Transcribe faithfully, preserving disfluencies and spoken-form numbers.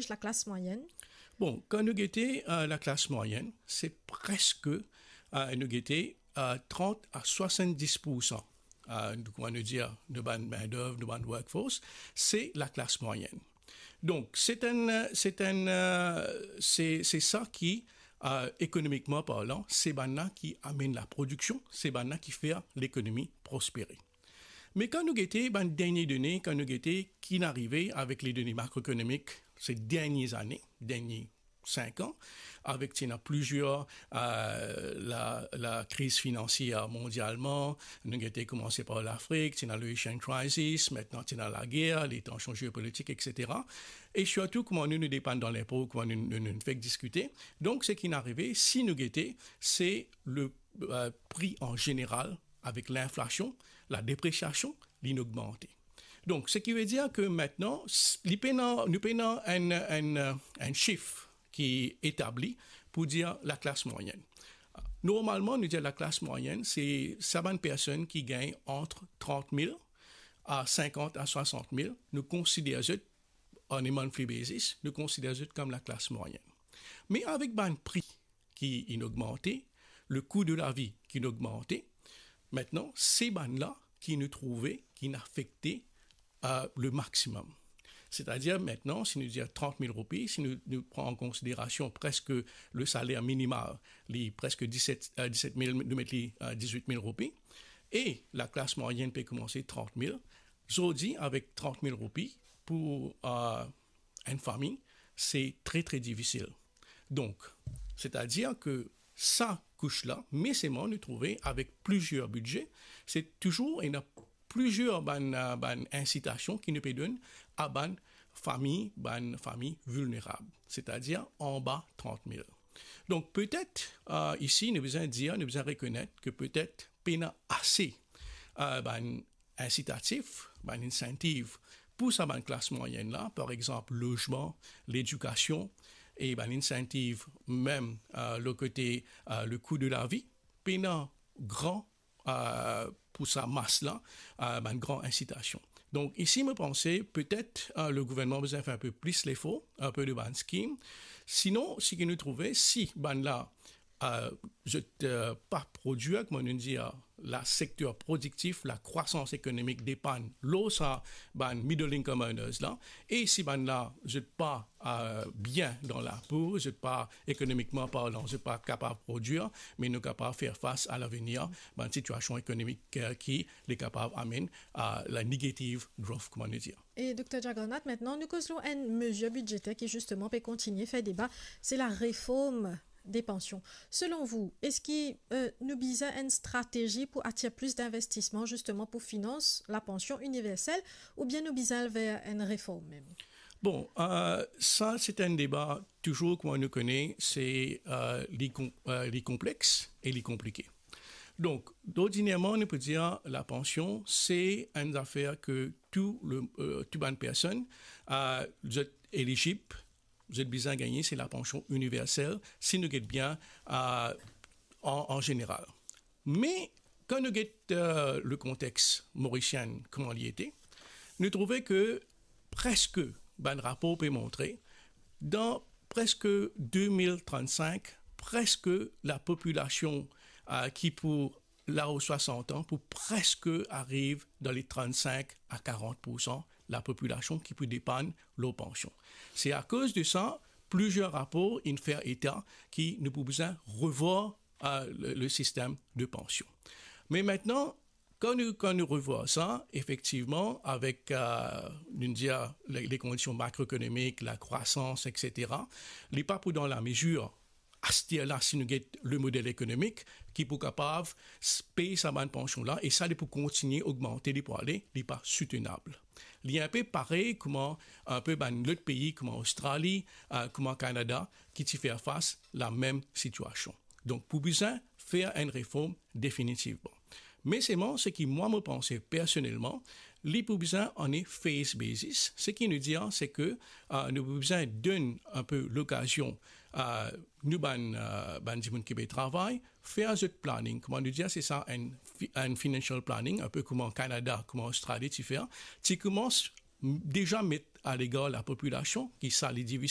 laklas mwayenn? Bon, kan nou gete, euh, laklas mwayenn, se preske, euh, nou gete, euh, trant a swasanndis poursan, euh, nou, kouma nou dir, nou bann mendov, nou bann workforce, se laklas mwayenn. Donk, se enn, se enn, euh, se, se sa ki, euh, ekonomikman parlan, se bann la ki amenn laprodiksion, se bann la ki fer lekonomi prospere. Me kan nou gete bann dernie done, kan nou gete ki inn arive avek le done makroekonomik se dernie zane, dernie sink an, avek ti ena plizier, euh, la, lakriz finansier mondialman, nou gete koumanse par Lafrik, ti ena le Haitian crisis, aster ti ena lager, le tansion geopolitik, et cetera. E sirtou, kouma nou, nou depann dan linpo, kouma nou, nou, nou fek diskite. Donk, seki inn arive, si nou gete, se le, euh, pri an zeneral, avek linflasion, ladepresiasion, li inn ogmante. Donk, seki ve dir ke aster, s-, li pena, nou pena enn, enn, enn sif ki etabli pou dir laklas mwayenn. Normalman, nou dir laklas mwayenn, se sa bann personn ki gagn ant trant mil a sinkant a swasant mil, nou konsider zot, on a monthly basis, nou konsider zot kom laklas mwayenn. Me avek bann pri ki inn ogmante, le kou de lavi ki inn ogmante, aster, se bann la ki nou trouve ki inn afekte, euh, le maximum. Setadir, aster, si nou dir trant mil roupi, si nou, nou pran an konsiderasion preske le saler minimal, li preske diset, euh, diset mil, nou met li, euh, dizwit mil roupi, e laklas mwayenn pe koumanse trant mil, zordi avek trant mil roupi pou, euh, enn fami, se tre, tre difisil. Donk, setadir ke sa kous la, me selman nou trouve avek plizier bidze, se touzour ena plizier bann, euh, bann insitasion ki nou pe donn a bann fami, bann fami vilnerab, setadir anba trant mil. Donk, petet, euh, isi, nou bizin dir, nou bizin rekonet ke petet pena ase, euh, bann insitatif, bann incentive pou sa bann klas mwayenn la, par exanp, lozman, ledikasion, e bann incentive mem, euh, le kote, euh, le kou de lavi, pena gran, euh, pou sa mas la, euh, bann gran insitasion. Donk, isi, mo panse, petet, euh, le gouvernman bizin fer enn pe plis lefor, enn pe de bann skim. Sinon, seki nou trouve, si bann la, euh, zot, euh, pa prodwir, kouma nou dir, la sekter prodiktif, lakrwasans ekonomik depann lor sa bann middle income earners la, e si bann la, zot pa, euh, bien dan lapo, zot pa, ekonomikman parlan, zot pa kapav prodwir, me nou kapav fer fas a lavenir bann sitiasion ekonomik, euh, ki li kapav amenn a la negative growth, kouma nou dir. E Dokter Jagannath, aster nou koz lor enn mezir bidzeter ki zisteman pe kontigne fer deba, se lareform de pansion. Selon vou, eski, euh, nou bizin enn stratezi pou atir plis dinvestisman zisteman pou finans lapansion iniversel, oubien nou bizin al ver enn reform mem? Bon, euh, sa se enn deba touzour, kouma nou kone, se, euh, li kon-, euh, li konplex e li konplike. Donk, ordinarman, nou pe dir lapansion, se enn zafer ke tou le, euh, tou bann personn, euh, zot elizib, zot bizin gagne, se lapansion iniversel, si nou get bien, euh, an, an zeneral. Me, kan nou get, euh, le kontex morisien, kouma li ete, nou trouve ke preske, bann rapor pe montre, dan preske de mil trannsink, preske lapopilasion, euh, ki pou lao swasant an pou preske ariv dan le trannsink a karant poursan lapopilasion ki pou depann lor pansion. Se akoz de sa, plizier rapor inn fer eta ki nou pou bizin revwar, euh, le, le sistem de pansion. Me aster, kan nou, kan nou revwar sa, efektivman, avek, euh, nou dir, le, le kondision makroekonomik, lakrwasans, et cetera, li pa pou dan lamezir aster la, si nou get le model ekonomik ki pou kapav s-, pey sa bann pansion la, e sa li pou kontigne ogmante, li pou ale, li pa soutenab. Li enn pe parey kouma enn pe bann lot pei kouma Ostrali, euh, kouma Kanada, ki ti fer fas lamem sitiasion. Donk, pou bizin fer enn reform definitivman. Me selman, seki mwa mo panse personelman, li pou bizin on a phase basis. Seki nou dir, se ke, euh, nou pou bizin donn enn pe lokazion, euh, nou bann, euh, bann dimoun ki pe travay, fer zot planning. Kouma nou dir, se sa enn fi-, enn financial planning, enn pe kouma Kanada, kouma Ostrali ti fer, ti koumans m-, deza met a legar lapopilasion ki sa li difisil